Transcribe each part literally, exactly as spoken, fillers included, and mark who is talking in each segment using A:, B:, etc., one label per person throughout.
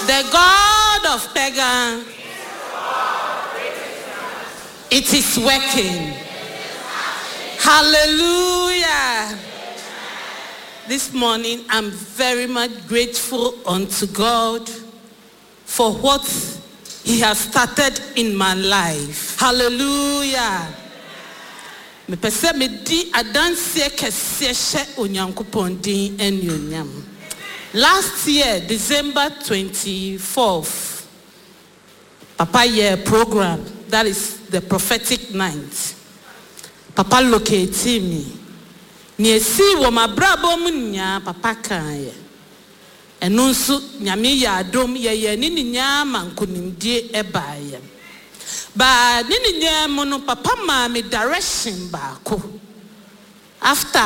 A: The God of Pagan, it is working. Hallelujah. This morning, I'm very much grateful unto God for what He has started in my life. Hallelujah. Mepɛ sɛ medi adanseɛ kɛseɛ hyɛ Onyankopɔn din anuonyam. Last year, December twenty-fourth, Papa yɛ program, that is the prophetic night. Papa locate me. Nea esii wɔ m'abrabɔ mu nyinaa, Papa kaeɛ. Ɛno nso, Nyame yɛ adom, yɛyɛ ne nyinaa ma nkonimdie ɛbaeɛ. Baa ne nyinaa mu no, Papa maa me direction baako. After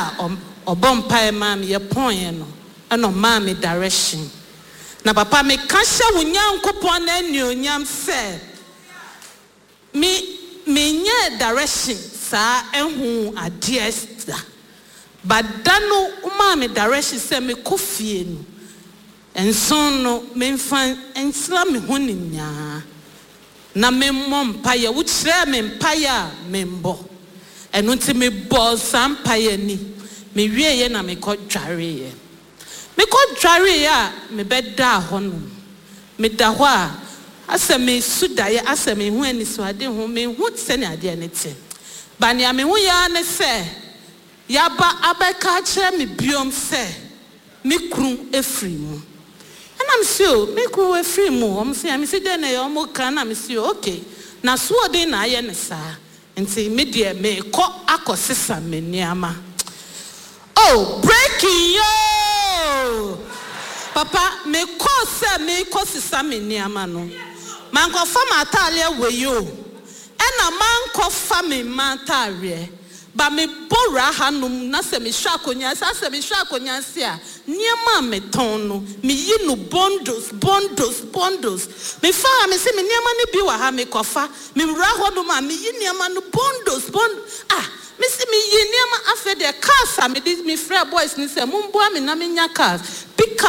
A: ɔbɔ mpaeɛ maa me yɛpɔneɛ no, ɛna ɔmaa me direction. Na Papa, meka hyɛ wo Nyankopɔn n'anuonyam sɛ me menyɛ direction saa ɛho adeɛ da. But da no ɔmaa me direction sɛ mekɔ fie no, nson no memfa nsra me ho ne nyaa na memmɔ mpaeɛ. Wokyerɛɛ me mpaeɛ a membɔ. Ɛno nti mebɔɔ saa mpaeɛ ni. Mewieeɛ na mekɔ dwareeɛ. Mekɔ dwareeɛ a mebɛdaa hɔnom. Meda hɔ a, asɛ mesu daeɛ, asɛ mehu anisoade ho, mehu sɛnea adeɛ no te. Ba nea mehu yɛ ara ne sɛ yaba abɛka akyerɛ me biom sɛ me kunu efiri mu. Ɛna mesi o, me kunu efiri mu. Wɔn sɛ mesi dɛ na ɛyɛ wɔn ka na mesi o, okay. Na soɔden na ayɛ ne saa. Nti me deɛ mekɔ akɔsesa me nneɛma. Oh, breaking yo! Papa, mekɔ sɛ mekɔ sesa me nneɛma no. Mankɔfa m'ataadeɛ wɔ yi o. Ɛna mankɔfa me mma ataadeɛ. Ba mebɔ wura hanom na sɛ mehwɛ akonnwa sɛ asɛ mehwɛ akonnwa se a, nneɛma a metɔn no, meyi no bundles, bundles, bundles. Mefa ha, mese me nneɛma no bi wɔ ha, mekɔfa. Mewura hɔnom a, meyi nneɛma no bundles, bundles. Ah, mesi meyi nneɛma. Afei deɛ, cars a mede mefrɛ boys ni sɛ momboa me na menya cars pick up.